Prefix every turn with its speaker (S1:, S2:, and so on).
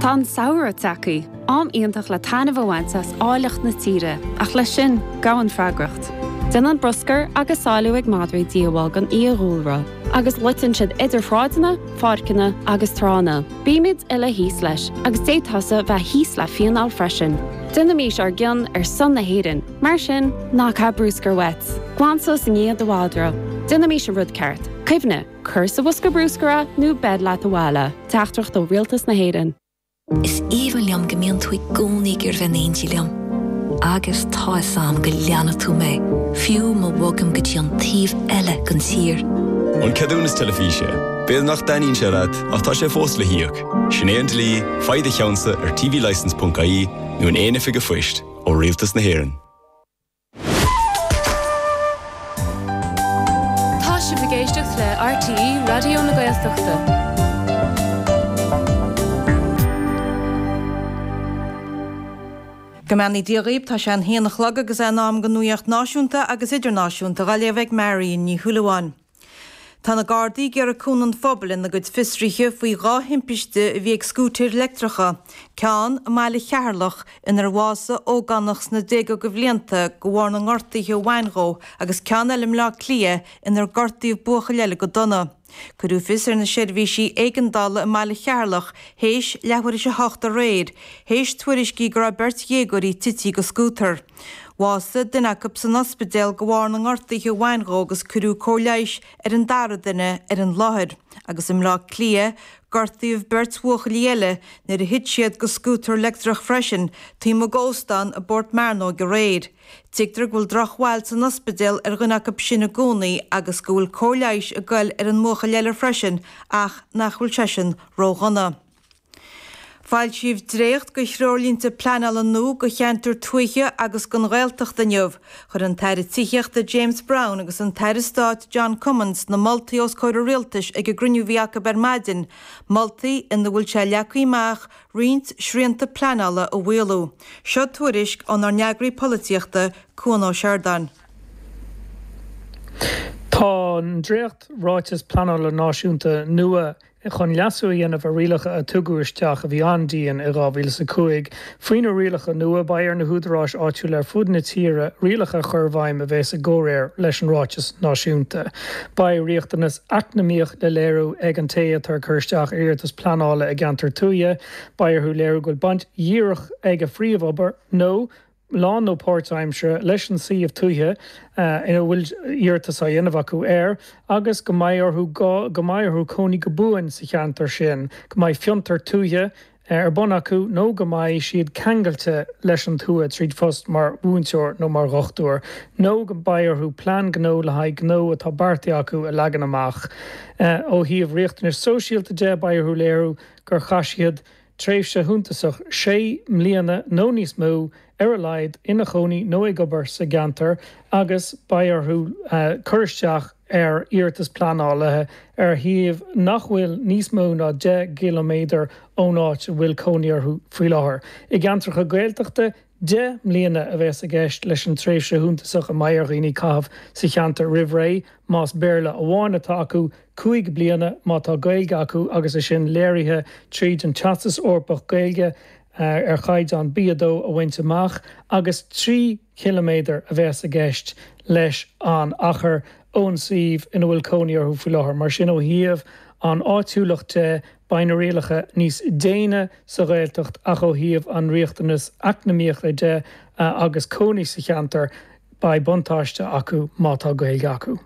S1: Tá an samhradh tagtha, am iontach le taitneamh a bhaint as áilleacht na tíre, ach leis sin, gabhann freagracht. Déanann bruscar agus sáiliú ag madraí díobháil don fhiadhúlra, agus loiteann siad idir shráideanna, pháirceanna agus tránna. Bímid uile thíos leis, agus d'fhéadfása bheith thíos le fíneáil freisin. Déanaimís ár gcion ar son na hÉireann, mar sin, ná caith bruscar uait. Glan suas i ndiaidh do mhadra. Déanaimís an rud ceart. Cuimhnigh! Cuir sa bhosca bruscair é nó beir leat abhaile. Teachtaireacht ó Rialtas na hÉireann.
S2: Is aoibhinn liom go mbíonn tú i gcónaí ag iarraidh bheith in éindí liom. Agus tá 'fhios a'm go leanfaidh tú mé, fiú má bhogaim go dtí an taobh eile den tír.
S3: An ceadúnas teilifíse. B'fhéidir nach dtaitníonn sé leat, ach tá sé fós le híoc. Sin é an dlí, faigh do cheannsa ar tvlicence.ie nó in aon oifig an phoist, ó Rialtas na hÉireann.
S4: Tá sibh ag éisteacht le RTÉ Raidió na Gaeltachta.
S5: Go mbeannaí Dia dhaoib, tá sé an haon a chlog agus é in am don nuaíocht náisiúnta agus idirnáisiúnta dhá léamh ag Marion Ní Shúilleabháin. Tá na Gardaí ag iarraidh cúnamh an phobail ina gcuid fiosruithe faoi dha thimpiste a bhí ag scúitéir leictreacha, ceann i mbaile Cheatharlach inar bhásaigh ógánach sna déaga de bhlianta de bharr na ngortuithe a bhain dhó agus ceann eile i mBleá Cliath inar gortaíodh buachaill eile go dona. Cuireadh fios ar na seirbhísí éigeandála i mbaile Cheatharlach théis leathuair théis a hocht aréir, théis tuairiscí go raibh beirt dhéagóirí tití go scútar. Bhásaigh duine acu san ospidéal de bharr na ngortuithe a bhain dhó agus cuireadh cóir leighis ar an dara duine ar an láthair. Agus i mBleá Cliath, gortaíodh beirt bhuachaillí eile nuair a thit siad go scútar leictreach freisin taobh amuigh d'óstán i bPort Mearnóg aréir. Tuigtear go bhfuil drochbhail san ospidéal ar dhuine acu sin i gcónaí agus go bhfuil cóir leighis ag goil ar an mbuachaill eile freisin ach nach bhfuil seisean ródhona. Foilsíodh dréacht de threoirlínte pleanála nua do cheantair tuaithe agus don Ghaeltacht inniu. Chuir an tAire Tithíochta James Browne agus an tAire Stáit John Cummins na moltaí os comhair an Rialtais ag an gcruinniú a bhí acu ar maidin, moltaí ina bhfuil sé leagtha amach roinnt srianta pleanála a mhaolú. Seo tuairisc ónár n-eagraí polaitíochta, Cuan Ó Seireadáin.
S6: Tá an dréacht-Ráiteas Pleanála Náisiúnta nua chun leasú a dhéanamh ar rialacha a tugadh isteach a bhí an-dian i 2005. Faoi na rialacha nua, beidh ar na húdaráis áitiúla ar fud na tíre rialacha a chur i bhfeidhm a bheas i gcomhréir leis an Ráiteas Náisiúnta. Beidh riachtanas eacnamaíoch le léiriú ag an té atá ag cur isteach ar iarratas pleanála i gceantar tuaithe. Beidh orthu léiriú go bhfuil baint dhíreach ag a phríomhobair nó lán nó páirtaimseartha, leis an suíomh tuaithe ina bhfuil iarratas á dhéanamh acu air agus go mbeidh orthu go mbeidh orthu cónaí go buan sa cheantar sin, go mbeidh fiontar tuaithe ar bun acu nó go mbeidh siad ceangailte leis an tuath tríd phost mar mhúinteoir nó mar dhochtúir, nó go mbeidh orthu plean gnó le haghaidh gnó atá beartaithe acu a leagan amach. Ó thaobh riachtanais sóisialta de, beidh orthu léiriú gur chaith siad tréimhse shuntasach, sé mbliana nó níos mó ar a laghad, ina chónaí nó ag obair sa gceantar agus beidh orthu cur isteach ar iarratas pleanála ar shuíomh nach bhfuil níos mó ná 10 gciliméadar ón áit a bhfuil cónaí orthu faoi láthair. I gceantracha Gaeltachta, 10 mbliana a bheas i gceist leis an tréimhse shuntasach a mbeidh ar dhaoine caitheamh sa cheantar roimh ré, más Béarla amháin atá acu, 5 bliana má tá Gaeilge acu agus é sin léirithe tríd an Teastas Eorpach Gaeilge ar chaighdeán B2 a bhaint amach, agus 3 chiliméadar a bheas i gceist leis an achar ón suíomh ina bhfuil cónaí orthu faoi láthair. Mar sin, ó thaobh an áitiúlacht de, beidh na rialacha níos déine sa Ghaeltacht ach ó thaobh an riachtanas eacnamaíochta de agus cónaí sa cheantar, beidh buntáiste acu má tá Gaeilge acu.